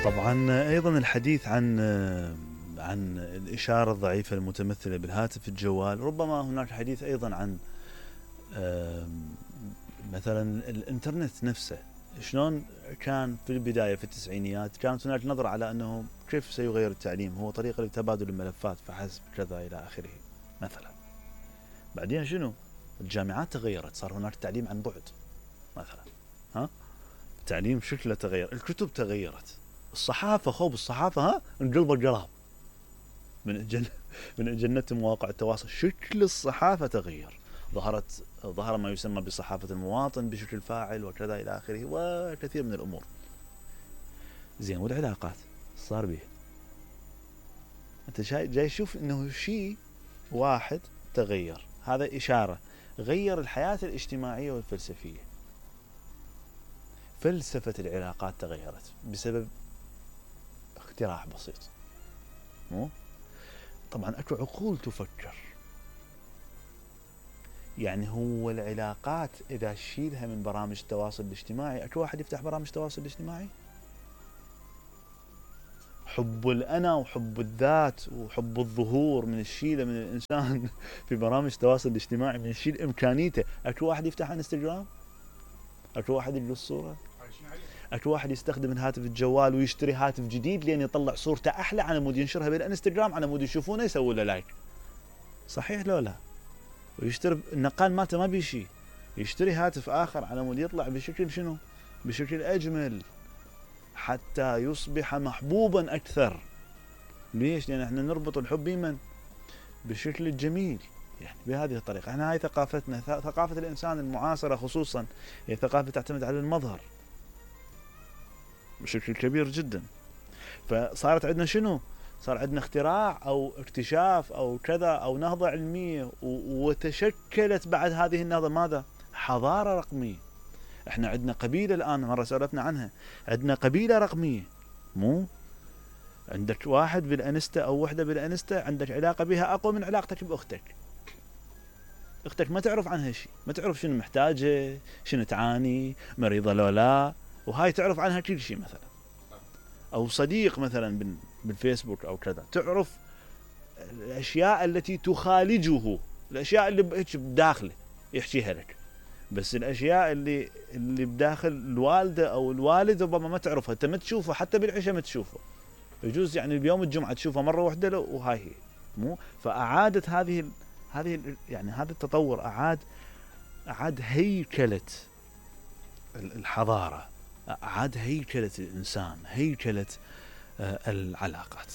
طبعا ايضا الحديث عن الاشاره الضعيفه المتمثله بالهاتف الجوال، ربما هناك حديث ايضا عن مثلا الانترنت نفسه. شلون كان في البدايه في التسعينيات كانت هناك نظره على انه كيف سيغير التعليم، هو طريقه لتبادل الملفات فحسب كذا الى اخره مثلا. بعدين شنو؟ الجامعات تغيرت، صار هناك تعليم عن بعد مثلا، التعليم شكله تغير، الكتب تغيرت، الصحافه الصحافه انقلبت قلب من جنة مواقع التواصل، شكل الصحافه تغير، ظهر ما يسمى بصحافه المواطن بشكل فاعل وكذا الى اخره وكثير من الامور. زين، والعلاقات صار به، انت جاي تشوف انه شيء واحد تغير، هذا اشاره غير الحياه الاجتماعيه والفلسفيه. فلسفه العلاقات تغيرت بسبب اختراع بسيط. مو طبعا اكو عقول تفكر، يعني هو العلاقات اذا شيلها من برامج التواصل الاجتماعي، اكو واحد يفتح برامج التواصل الاجتماعي؟ حب الانا وحب الذات وحب الظهور من الشيله من الانسان في برامج التواصل الاجتماعي، من الشيل امكانيته. اكو واحد يفتح انستغرام؟ اكو واحد يلقى الصوره؟ اكو واحد يستخدم الهاتف الجوال ويشتري هاتف جديد لين يطلع صورته احلى على مود ينشرها بالانستغرام، على مود يشوفونه يسوي له لايك؟ صحيح لو لا؟ ويشتري النقال مالته ما بيشي، يشتري هاتف اخر على مود يطلع بشكل شنو؟ بشكل اجمل حتى يصبح محبوبا اكثر. ليش؟ لان احنا نربط الحب بمن؟ بشكل الجميل، يعني بهذه الطريقه. احنا هاي ثقافتنا، ثقافه الانسان المعاصره خصوصا هي ثقافه تعتمد على المظهر بشكل كبير جدا. فصارت عندنا شنو؟ صار عندنا اختراع او اكتشاف او كذا او نهضه علميه، وتشكلت بعد هذه النهضه ماذا؟ حضاره رقميه. احنا عندنا قبيله الان، مره سولفنا عنها، عندنا قبيله رقميه. مو عندك واحد بالانستا او وحده بالانستا عندك علاقه بها اقوى من علاقتك باختك. اختك ما تعرف عنها شيء، ما تعرف شنو محتاجه، شنو تعاني، مريضه لو لا، وهاي تعرف عنها كل شيء مثلا. او صديق مثلا بالفيسبوك او كذا، تعرف الاشياء التي تخالجه، الاشياء اللي هيك بداخله يحكيها لك، بس الاشياء اللي بداخل الوالده او الوالد ربما ما تعرفها، انت ما تشوفه حتى بالعشاء ما تشوفه، يجوز يعني اليوم الجمعه تشوفه مره واحده وهاي هي. مو فاعادت هذه يعني هذا التطور اعاد هيكله الحضاره، اعاد هيكله الانسان، هيكله العلاقات.